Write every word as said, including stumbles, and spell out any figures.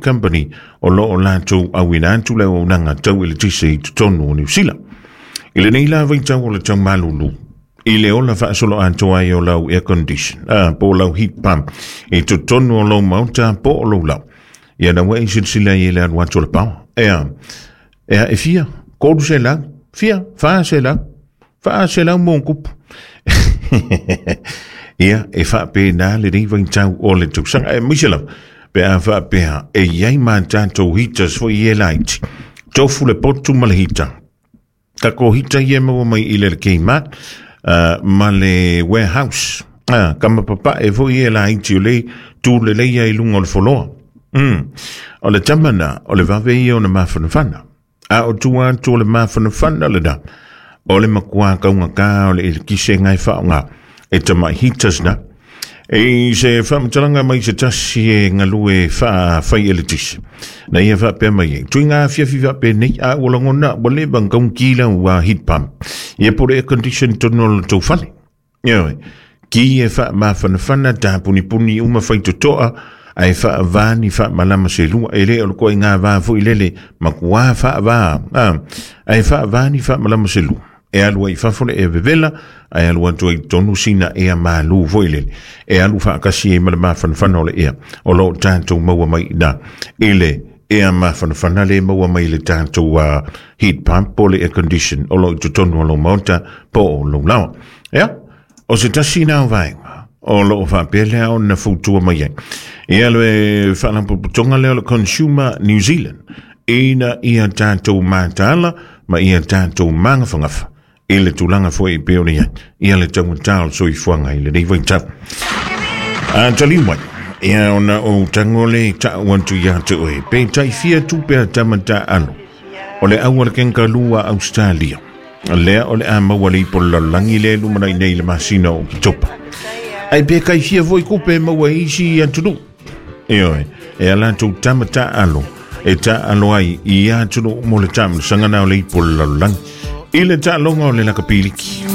Company o loo latou auina atu le auaunaga tau eletise i totonu o Niu Sila. I lenei la vaitau o le tau malulu, i le ola faasolo atoa ai o lau air condition, ah, po o lau heat pump i totonu o lou maota po o lou lau. Ia na ua e silasila i le alu atu o le power. Ea, ea e fia, tolu selau, fia, fa selau, fa selau mo kupu. Ia, e faapena lenei vaitau o le tausaga. E maise lava, pe a faapea, e iai ma tatou heaters foi e laiti. Tofu le potu ma le heater. Kako heater ia maua mai i le Kmart, uh, ma le warehouse. Ah, kama papa e foi e laiti o le tu le leia i lunga o le foloa. Mm. O le tamana, o le vave ia o na mafanafana. A o tua atu o le mafanafana le na. O le makua kaunga ka o le eletise ngai whaonga. E tamai heaters na. E se whamatalanga mai se tasi e ngalue wha whai eletise. Na ia whapea mai e. Tui ngā fiafi whapea nei a ua langona ua le bang kaung kila ua heat pump. Ia pore air condition tono o le tau fale. Ia ki e wha mafanafana tā puni puni uma whai totoa ai wha vani wha malama se lua e le o le koe ngā vā fui lele makua wha vā. Ai wha vani wha malama se lua. E alu ai fafo le e vevela, ai alu atu ai tonu sina ea malu foi lele. E alu whaakasi e ma le mafanafana o le ea. O lo tātou maua mai na. I le ea mafanafana le maua mai le tātou uh, heat pump po le air condition o lo i totonu o lo maota po o lo lawa. Ea, o se tasi nā vaenga o lo o whapea lea o na fautua mai ai. Ia le whaalapotopotoga lea o le Consumer New Zealand ina ia tātou mātāla ma ia tātou mangawhangafa i le tulaga foi e pei ona iai ia le taugata o le soifuaga i lenei vaitau. A taliu mai, ia ona ou tago le taʻu atu iā te oe, pe taifia tupe a tama taalo o le au a le kenkalua Australia lea o le a maua le ipo le lalolagi le lumanai nei le masina o Oketopa. Ai pe kaifia foi kupe e maua i isi atunuu. Ioe, e a latou tama taalo e taalo ai i atunuu mo le taamilosaga na o le ipo le lalolagi i le taaloga o le lakapiliki.